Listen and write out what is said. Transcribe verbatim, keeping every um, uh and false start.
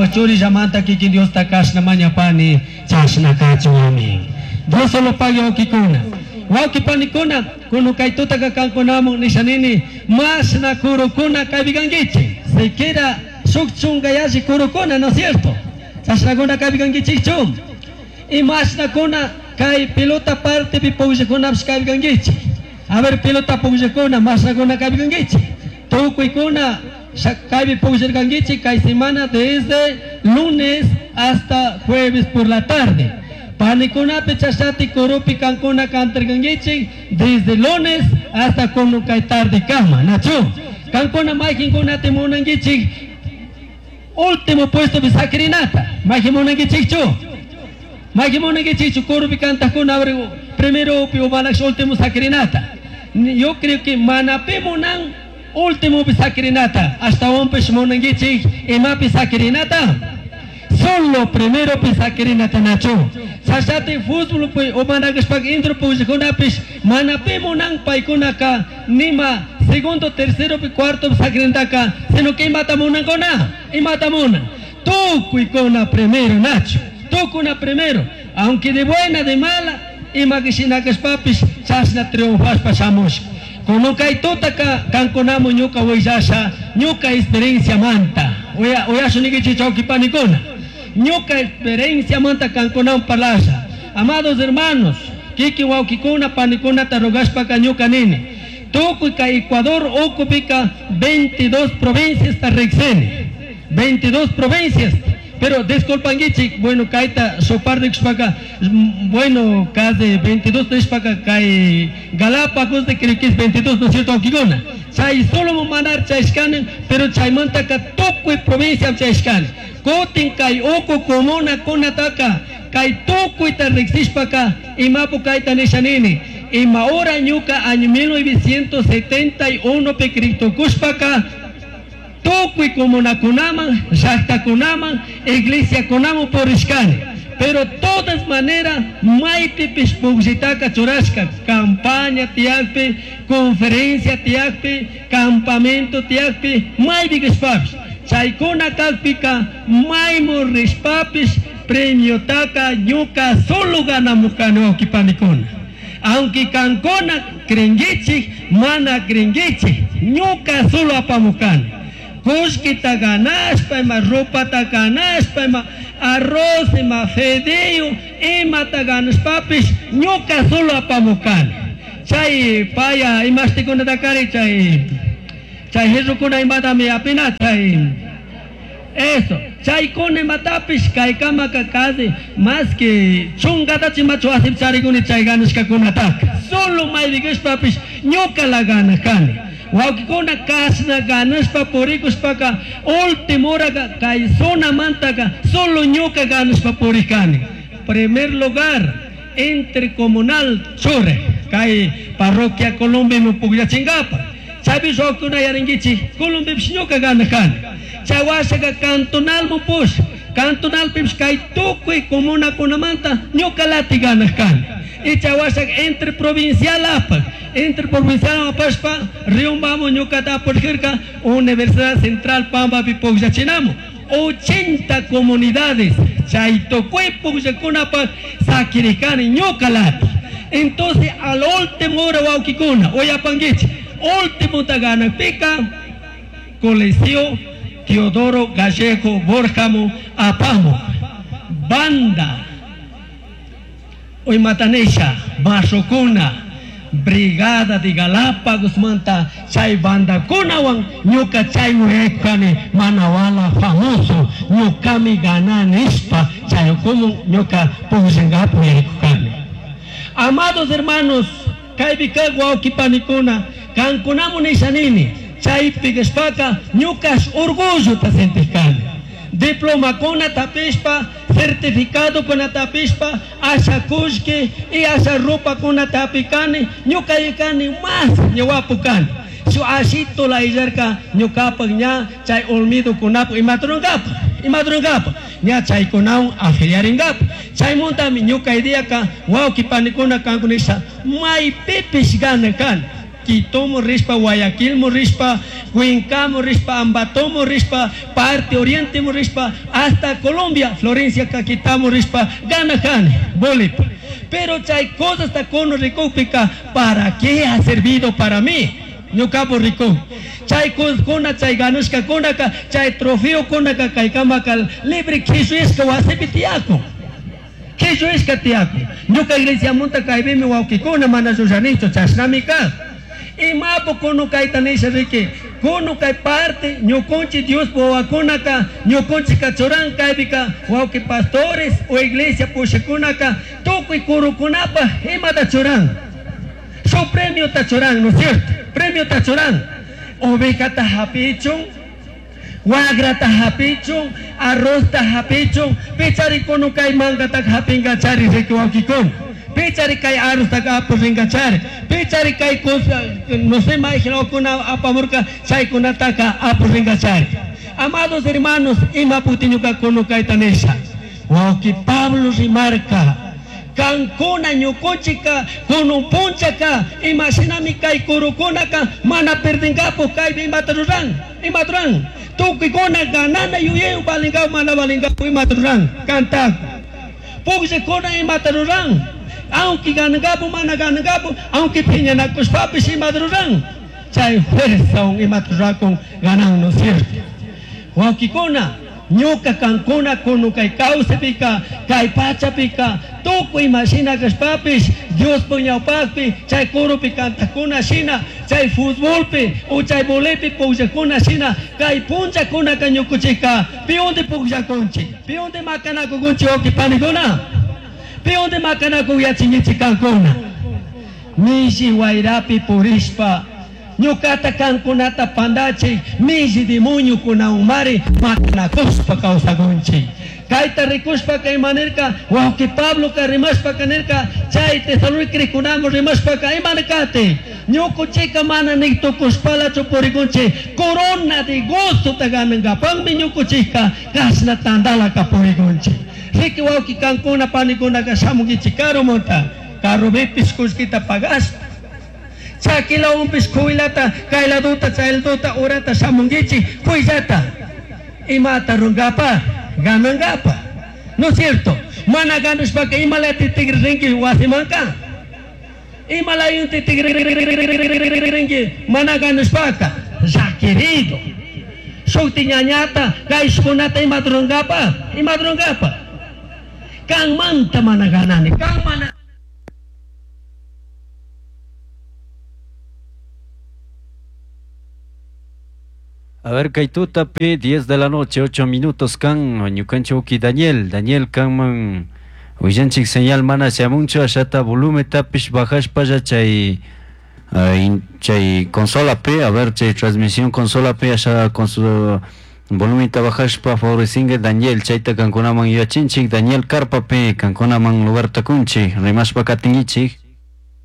Cambaj churillamanta kikin Diosta kashna mañapani chashna kachun, amén. Dios solo pague, wawkikuna. Wawki panikuna, kunan kay tutaka kankunamun nishanini mashna kurukuna kaypi kankichik. Siquiera shuk chunka yalli kurukuna, ¿no es cierto? Chashnakuna kaypi kankichikchu. Y mashnakuna kay pelota partepi pugllakunapish kaypi kankichik. A ver, pelota pugllakuna, mashnakuna kaypi kankichik. Tukuykuna kaypi pugllarkankichik kay semana desde lunes hasta jueves por la tarde. Panikunapi chashati kurupi kankuna cantarkankichik desde lunes hasta kunan kay tarde kama, nachu. Kankuna mayqinkunata munankichik último puesto sakirinata. Mayqin munankichikchu. Mayqin munankichikchu kurupi cantakuna primero pi umanax último sakirinata. Yo creo que mana pi munan último pi sakirinata. Ashtawanpish munankichik imapi sakirinata. Solo primero pi sakirinata, nachu. Chashati fútbol pi umanakashpaka intro pugllakunapish mana pi munan paykunaka nima segundo, tercero pi cuarto pi sakirinataka, sino que imata munankuna, imata munan. Tukuykuna primero, nachu. Tukuna primero, aunque de buena, de mala, ima shinakashpapish chashna triunfashpa shamushka. Kunan kay tutaka kankunamun ñuka willasha ñuka experiencia manta. Uya uyashunikichik wawki panikuna. Ñuka experiencia manta kankunamun parlasha. Amados hermanos, kikin wawkikuna panikunata rogashpaka ñuka nini. Tukuy kay Ecuador ukupika veintidós provincias ta riksini. veintidós provincias. Pero disculpankichik, bueno, kayta soparnikushpaka, bueno, casi veintidós nishpaka kay Galápagos de creo que es veintidós, ¿no es cierto, wawkikuna? Chay solo manar chayshkani, pero chaymantaka tukuy provincia chayshkani. Kutin kay uku comuna kunataka, kay tukuyta riksishpaka, imapu kayta nishanini. Ima hora ñuka año mil novecientos setenta y uno pi kriktukushpaka, tukuy comunakunaman, llaqtakunaman, iglesiakunaman purishkani. Pero todas maneras, maypipish pugllitaka churashka, campaña tiyakpi, conferencia tiyakpi, campamento tiyakpi, maypi kashpapish. Chaykuna kakpika, maymu rishpapish, premiotaka ñuka solo ganamukani, wawkipanikuna. Aunque kankuna creenguichik, mana creenguichik, ñuka solo apamukani. Kullkita ganashpa, ima ropata ganashpa, ima arroz, ima fideo, imata ganashpapish, ñuka solo apamukani. Chay paya imashtikunata kari chay chay jirrukuna imatami apina chay eso chaykuna imatapish kaykamaka casi más que chunkatachu imachu wasipi charikuni chay ganashkakunataka. Solo maypi ñuka la ganakani. Wawkikuna, kashna ganashpa purikushpaka último horaka kay zonamantaka solo ñuka ganashpa purikani. Primer lugar intercomunal chure kay parroquia Colombia pugllachingapa. Chaypish wawkikuna yarinkichik Colombiapish ñuka ganakani. Chay washaka cantonalmun push cantonalpipish kay tukuy comunakunamanta ñuka lati ganaj kani. Y chay washaka interprovincial apak interprovincial apashpa Riobambamu ñukata apurjirka Universidad Central Pampapi pugllachinamu. ochenta comunidades chay tukuy pugllakunapak sakirikani ñuka lati. Entonces al último hora, wawkikuna, uyapankichik, último ganakpika Coliseo Teodoro Gallego Borjamo apamu banda Uymatanisha Mashukuna Brigada de Galápagos manta chay bandakunawan ñuka chaymu kani manawala famoso ñukami gananishpa chay como ñuka pugllangapu yaykukani. Amados hermanos, kaypi kaq wawki panikuna, kankunamu nishanini chaypi kashpaka ñukash orgullota sentishkani. Diplomakuna tapishpa, certificado kuna tapishpa, asha kullki y asha ropa kuna tapikani, ñuka kani más ñawapu kani. Shu ashito la illarka ñukapak ña chay olmido kunapu imatrunkapa, imatrunkapa, ña chaykunawan afiliarinkapa. Chaymuntami ñuka ideaka wawki panikuna kankunisha maypipish gana kani. Quitomo rishpa, Guayaquilmo rishpa, Cuencamo rishpa, Ambatomo rishpa, parte Oriente rishpa, hasta Colombia, Florencia Caquetamo rishpa, ganajani, bolepi. Pero chay cosas kunu rikukpika, ¿para qué ha servido para mí? Ñukapu rikun. Chay kuna chay ganushkakunaka, chay trofeo kunaka kaykamaka libre kishuishka wasipi tiyakun. Kishuishka tiyakun. Ñuka iglesiamunta kaypimi wawkikuna mana llullanichu chashnami kan. Imapu kunu kayta nisha riki, kunu kay parte ñukunchik Dios wawakunaka, ñukunchik churan kaypika wawki pastores o iglesia pushakunaka tukuy kurukunapa imata churan. Su premio ta churan, ¿no es cierto? Premio ta churan. Ovejata hapichun, wagrata hapichun, arrozta hapichun, pichari kunu kay mangata hapingachari riki wawkikuna. Pichari kay arrozta apuringachari, pichari kay cosa, no sé, mayjinakuna apamurka chaykunataka apuringachari. Amados hermanos, imaputi ñuka kunu kayta nisha. Wawki Pablo rimarka, kankuna ñukunchika kunun punchaka imashinami kay kurukunaka mana perdingapu kaypi imata ruran, imata ruran. Tukuykuna ganana yuyaywan valingapu mana valingapu imata ruran, kantaku. Pukllakuna imata ruran, aunque ganangapu mana ganangapu, aunque phiñanakushpapish imata ruran. Chay fuerza imata rurakun ganan, ¿no es cierto? Wawkikuna, ñuka kankuna kunu kay kawsapika, kay pachapika, tukuy imashina kashpapish, Diospa ñawpakpi, chay kurupi kantakuna shina, chay futbolpi o chay volepi pukllakuna shina, kay punllakunaka ñukuchika, piunti pukllakunchik, piunti makanakukunchik wawki panikuna, piunti makanakuyachinkichik kankuna. Milli wayrapi purishpa, ñukata kankunata pandachik, milli demoniokunawanmari makanakushpa kawsakunchik. Kayta rikushpaka imanirka, wawki Pabloka rimashpaka nirka, chay Tesalónica rikunamun rimashpaka imanirkati, ñukuchika mana nik tukushpalachu purikunchik, corona de gozo ta ganankapakmi ñukuchika kashna tandalaka purikunchik. Riki wawki kankuna panikunaka shamunkichik karumunta, carropipish kullkita pagashpa, chakilawanpish kuylata, kayladuta, chayladuta, urata shamunkichik, kuyllata, imata runkapa, ganankapa, ¿no es cierto? Mana ganashpaka imalati tigrinki wasimanka, imalayunti tigrinki mana ganashpaka, llaquirido. Shukti ñañata, kayshkunata imata runkapa, imata runkapa. Kanmanta mana ganani, kan mana. A ver, Kaitutapi, diez de la noche, ocho minutos, kan, ñukanchik Daniel, Daniel kanman, willanchik señal mana shamunchu, ashata volumen tapish bajashpalla chay, chay consola P, a ver, chay transmisión consola P, asha con su volumen bajashpa favorecingue Daniel, chayta kankunaman yachinchik, Daniel Carpa P, kankunaman lugar takunchik, rimashpa katingichik.